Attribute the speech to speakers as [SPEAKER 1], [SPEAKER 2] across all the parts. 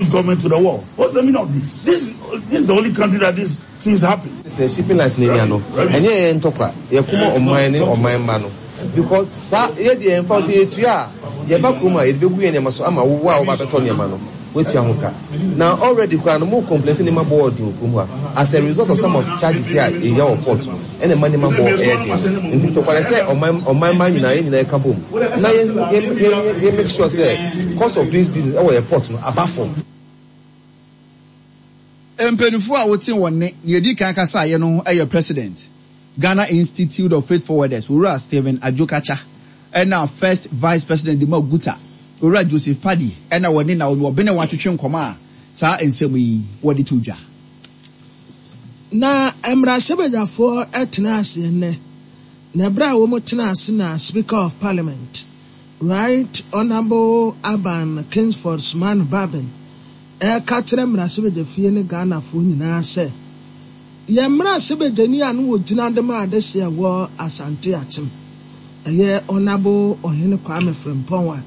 [SPEAKER 1] Government to the wall. What's the meaning of this? This, this is the only country that these things happen.
[SPEAKER 2] Sɛ shipping lines no anya no, ɛnyɛ yɛn ntɔkwa, yɛko ma ɔman ne ɔman mma no because saa yɛ deɛ yɛmfa sɛ yɛtua a yɛba kurom a yɛde bɛgu yɛn nneɛma so ama wo a woba bɛtɔ nneɛma no woatua ho ka. Na already koraa no mo complain sɛ nneɛma bɔ ɔden wɔ kurom hɔ a as a result of some of charges yi a yɛnya wɔ port no ɛna ɛma nneɛma bɔ ɛyɛ den no. Nti ntɔkwa no ɛsɛ ɔman ɔman mma nyinaa yɛn nyinaa yɛka bom na yɛ yɛ yɛ yɛ make sure sɛ cost of doing business ɛwɔ yɛ port no aba fam.
[SPEAKER 3] Mpanyinfoɔ a wote wɔn nne nea edi kan kasaeɛ no yɛ President, Ghana Institute of Freight Forwarders, Owura Stephen Adjo-Katcha, ɛna First Vice President de ma GUTA, Owura Joseph Paddy, ɛna wɔne Naomi Obenewa twetwe nkɔmmɔ a saa nsɛm yi wɔde to dwa.
[SPEAKER 4] Na mmarahyɛbadwafoɔ tenaa ase ɛnnɛ, na ɛberɛ a wɔtenaa ase na Speaker of Parliament, Right Honourable Alban Kingsford Sumanu Bagbin reka kyerɛ mmarahyɛbadwafie ne Ghanafoɔ nyinaa sɛ, yɛn mmarahyɛbadwani a na ɔgyina de ma adehyeɛ wɔ Asante Akyem, ɛyɛ Honourable Ɔhene Kwame Frimpong a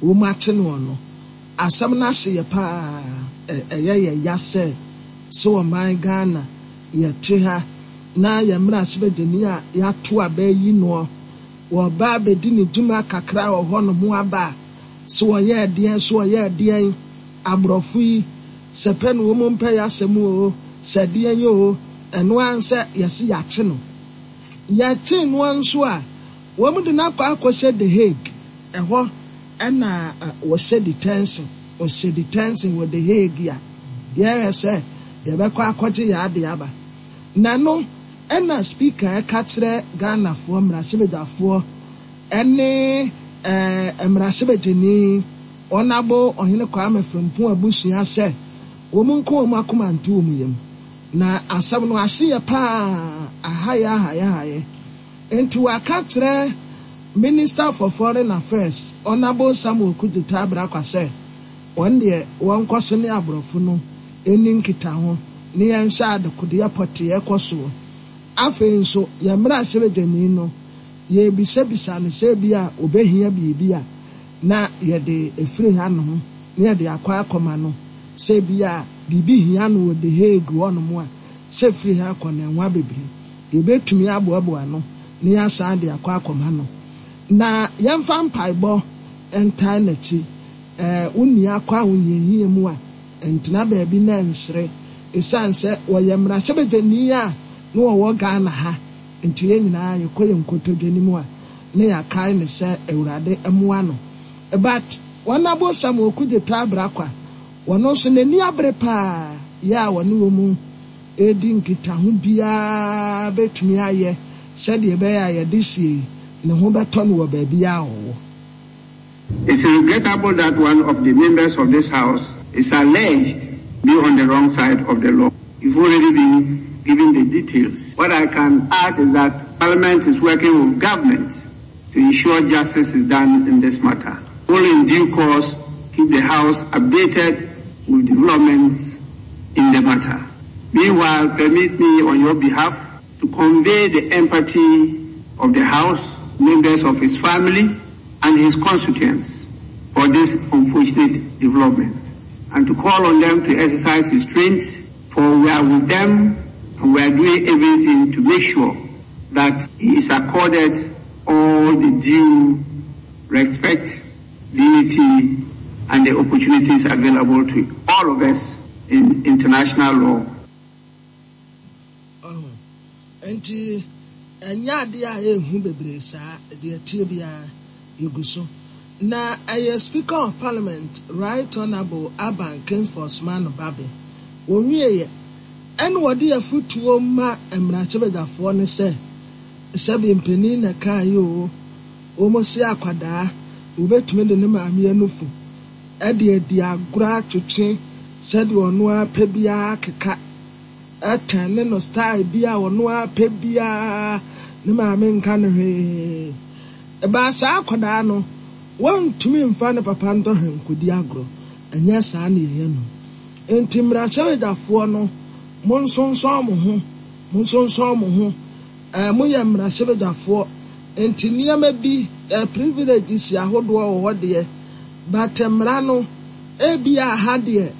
[SPEAKER 4] wɔakye noɔ no, asɛm no ahye yɛ paa, ɛyɛ yɛ ya sɛ sɛ ɔman Ghana yɛte ha na yɛn mmarahyɛbadwani a yɛato aba ayi noɔ, wɔba abɛdi ne dwuma kakra wɔ hɔnom aba a, sɛ wɔyɛɛ deɛn, sɛ wɔyɛɛ deɛn, aborɔfo yi, sɛ pɛ na wɔn mpɛ yɛn asɛm oo, sɛ deɛn oo, ɛno ara ne sɛ yɛse yɛakye no. Yɛkyee noɔ nso a, wɔn de no akɔ akɔhyɛ The Hague, ɛhɔ na wɔhyɛ detention, wɔhyɛ detention wɔ The Hague a, yɛhwɛ sɛ yɛbɛkɔ akɔgye yɛn adeɛ aba. Na ɛno na Speaker ɛka kyerɛ Ghanafoɔ, mmarahyɛbadwafoɔ ne mmarahyɛbadwani Honourable Ɔhene Kwame Frimpong abusua sɛ wɔn nka wɔn akoma nto wɔn yam. Na asɛm no ahye yɛ paa, ahayɛ ahayɛ ahayɛ. Enti wɔaka akyerɛ Minister for Foreign Affairs, Honourable Samuel Kudjoe Abrahkwa sɛ wɔn deɛ wɔnkɔ so ne aborɔfo no nni nkitaho ne yɛnhwɛ adekodeɛ pɔtee ɛkɔ soɔ. Afei nso yɛn mmarahyɛbadwani no yɛrebisabisa no sɛ ebia ɔbɛhia biribi a na yɛde ɛfiri hanom na yɛde akɔ akɔma no, sɛ ebia biribi hia no wɔ The Hague hɔnom a, sɛ ɛfiri ha kɔ no ɛnwa bebree. Yɛbɛtumi aboaboa ano na yɛasan de akɔ akɔma no. Na yɛmfa mpaebɔ ntae n'akyi. Wo nua kɔ ahohiahia mu a, ntena baabi na nsere. Ɛsiane sɛ ɔyɛ mmarahyɛbadwani a na ɔwɔ Ghana ha nti, yɛn nyinaa yɛkɔ yɛn nkotodwe no mu a, na yɛakae no sɛ Awurade mmoa no. But Honourable Samuel Okudzeto Abrah-Kwa, ɔno nso n'ani abere paa yɛ a ɔne wɔn redi nkitaho biara bɛtumi ayɛ sɛdeɛ ɛbɛyɛ a yɛde sie yi, ne ho bɛtɔ no wɔ baabiara a ɔwɔ.
[SPEAKER 5] It's regrettable that one of the members of this house is alleged be on the wrong side of the law. You've already been given the details. What I can add is that Parliament is working with government to ensure justice is done in this matter. Will in due course keep the House updated with developments in the matter. Meanwhile, permit me on your behalf to convey the empathy of the House, members of his family, and his constituents for this unfortunate development, and to call on them to exercise restraint, for we are with them and we are doing everything to make sure that he is accorded all the due respect, dignity, and the opportunities available to all of us in international law.
[SPEAKER 4] Ɔho, enti ɛnyɛ adeɛ a ɛyɛ hu bebree saa, deɛ ɛteɛ biara yɛgu so. Na ɛyɛ Speaker of Parliament Right Honourable Alban Kingsford Sumano Bagbin, wɔwieɛ ɛna wɔde afutuo ma mmarahyɛbadwafoɔ no sɛ, sɛbe mpanin na ɛkaeɛ oo, wɔn se akwadaa wɔbɛtumi de ne maame anufu de adi agorɔ atwetwe sɛdeɛ ɔno ara pɛ biara akeka ɛtɛn ne no style bi a ɔno ara pɛ biara ne maame nka no hwee. Ɛbaa saa akwadaa no wɔntumi mfa ne papa ntɔhwɛ nkɔdi agorɔ, ɛnyɛ saa na yɛyɛ no. Enti mmarahyɛbadwafoɔ no monsonsɔn mo ho, monsonsɔn mo ho. Ɛɛ moyɛ mmarahyɛbadwafoɔ enti nneɛma bi, ɛɛ privileges ahodoɔ wɔ hɔ deɛ, but mmara no ebia ha deɛ.